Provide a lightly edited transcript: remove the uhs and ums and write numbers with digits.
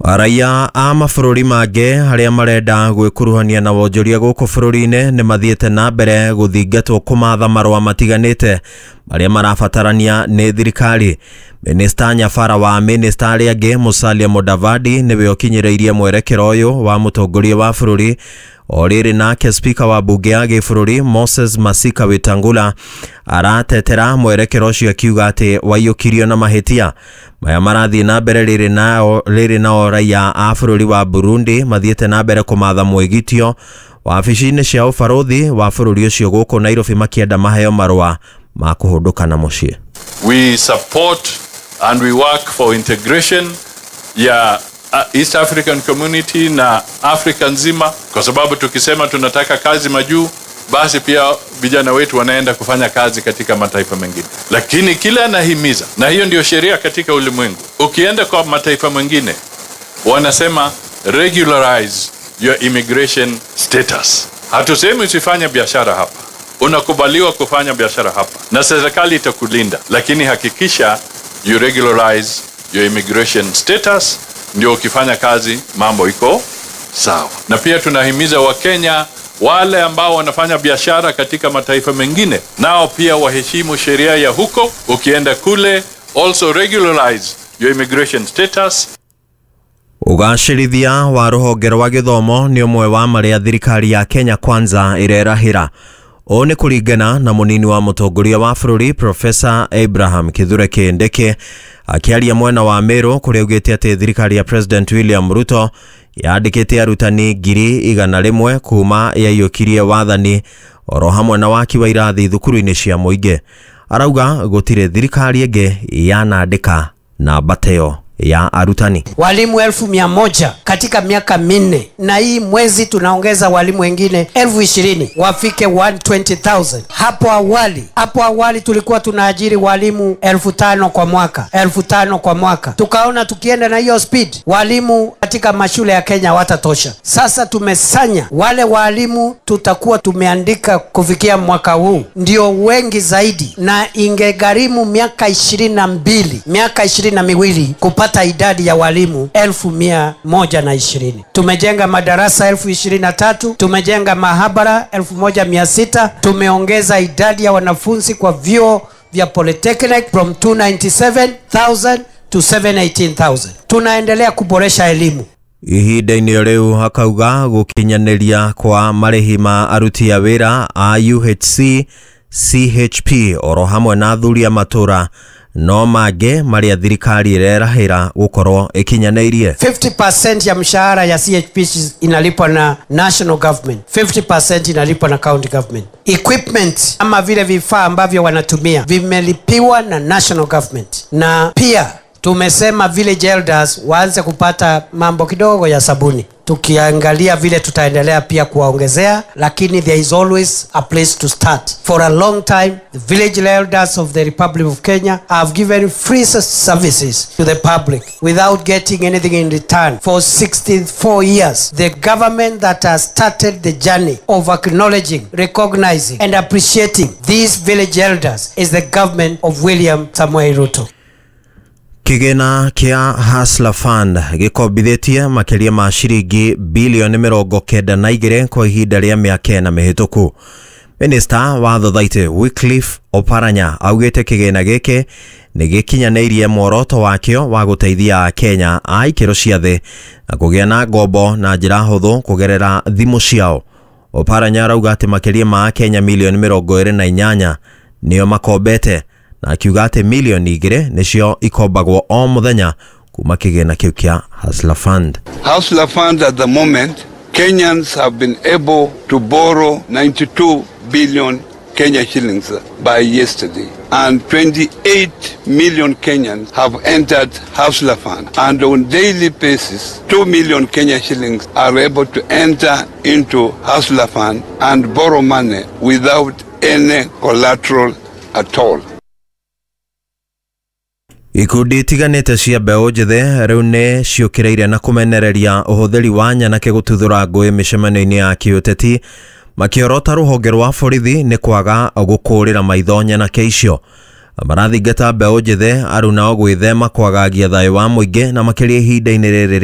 Raia a mabũrũri mangĩ arĩa marenda gwĩkuruhania na wonjoria gũkũ bũrũri-inĩ nĩ mathiĩte na mbere gũthingatwo kũmatha marũa matiganĩte marĩa marabatarania nĩ thirikari. Minista Nyabara wa minista arĩa angĩ Musalia Mudavadi nĩwe ũkinyĩrĩirie mwerekero ũyũ wa mũtongoria wa bũrũri. O rĩrĩ nake spika wa bunge ya gĩbũrũri Moses Masika Wetangula aratetera mwerekero ũcio akiuga atĩ waiyũkirio na mahĩtia. Maya marathiĩ na mbere rĩrĩ nao raia a bũrũri wa Burundi mathiĩte na mbere kũmatha mwĩgitio wabici-inĩ cia ũbarũthi wa bũrũri ũcio gũkũ Nairobi makĩenda maheo marũa ma kũhũndũka na mũciĩ. We support and we work for integration ya East African Community na Afrika nzima, kwa sababu tukisema tunataka kazi majuu, basi pia vijana wetu wanaenda kufanya kazi katika mataifa mengine. Lakini kila anahimiza, na hiyo ndio sheria katika ulimwengu, ukienda kwa mataifa mengine wanasema regularize your immigration status. Hatusemi usifanye biashara hapa, unakubaliwa kufanya biashara hapa na serikali itakulinda, lakini hakikisha you regularize your immigration status, ndio ukifanya kazi mambo iko sawa. Na pia tunahimiza Wakenya wale ambao wanafanya biashara katika mataifa mengine, nao pia waheshimu sheria ya huko. Ukienda kule, also regularize your immigration status. Ũgacĩrithia wa rũhonge rwa gĩthomo nĩ ũmwe wa marĩa thirikari ya Kenya Kwanza ĩrerahĩra. Ũũ nĩ kũringana na mũnini wa mũtongoria wa bũrũri Professor Abraham Kithure Kindiki akĩaria mwena wa Meru kũrĩa augĩte atĩ thirikari ya President William Ruto yandĩkĩte arutani 100,000 kuma yaiyũkirie wathani oro hamwe na waki wa irathi thukuru-inĩ cia mũingĩ. Arauga gũtirĩ thirikari ĩngĩ yanandĩka namba teyo ya arutani. Walimu 100,000 katika miaka 4, na hii mwezi tunaongeza walimu wengine 20,000 wafike 120,000. Hapo awali tulikuwa tunaajiri walimu 5,000 kwa mwaka, 5,000 kwa mwaka. Tukaona tukienda na hiyo speed walimu katika mashule ya Kenya watatosha. Sasa tumesanya wale walimu tutakuwa tumeandika kufikia mwaka huu ndio wengi zaidi, na ingegharimu miaka 22, miaka 22 kupata idadi ya walimu 120,000. Tumejenga madarasa 23,000, tumejenga mahabara 1,600, tumeongeza idadi ya wanafunzi kwa vyuo vya Polytechnic from 297,000 to 718,000. Tunaendelea kuboresha elimu. Ihinda-inĩ rĩu akauga gũkinyanĩria kwa marĩhi ma aruti a wĩra a UHC, CHP oro hamwe na athuri a matũra no mangĩ marĩa thirikari ĩrerahĩra gũkorwo ĩkinyanĩirie. 50% ya mshahara ya CHP inalipwa na national government, 50% inalipwa na county government. Equipment ama vile vifaa ambavyo wanatumia vimelipiwa na national government. Na pia tumesema village elders waanze kupata mambo kidogo ya sabuni. Tukiangalia vile tutaendelea pia kuwaongezea, lakini there is always a place to start. For a long time, the village elders of the Republic of Kenya have given free services to the public without getting anything in return. For 64 years, the government that has started the journey of acknowledging, recognizing and appreciating these village elders is the government of William Samoei Ruto. Kĩgĩna kĩa Hustler Fund gĩkombithĩtie makĩria ma ciringi bilioni 92 kwa ihinda rĩa mĩaka 4 mĩhĩtũku. Minista wa Thothaitĩ Wycliffe Oparanya augĩte kĩgĩna gĩkĩ nĩ gĩkinyanĩirie muoroto wakĩo wa gũteithia Akenya a ikĩro cia thĩ na kũgĩa na ngombo na njĩra hũthũ kũgerera thimũ ciao. Oparanya arauga atĩ makĩria ma Akenya milioni 28 nĩo makombete, na akiuga atĩ milioni 2 nĩcio ikombagwo o mũthenya kuma kĩgĩna kĩu kĩa Hustler Fund. Hustler Fund at the moment, Kenyans have been able to borrow 92 billion Kenya shillings by yesterday, and 28 million Kenyans have entered Hustler Fund, and on daily basis 2 million Kenya shillings are able to enter into Hustler Fund and borrow money without any collateral at all. Ikundi itiganĩte cia mbeũ njĩthĩ rĩu nĩ ciũkĩrĩire na kũmenereria ũhũthĩri wa nyanake gũtuthũra ngũĩ mĩcemanio-inĩ ya kĩũteti, makĩorota rũhonge rwa borithi nĩ kwaga gũkũrĩra maitho nyanake icio. Marathingata mbeũ njĩthĩ arunao gwĩthema kwagagia thayũ wa mũingĩ na makĩria ihinda-inĩ rĩrĩ.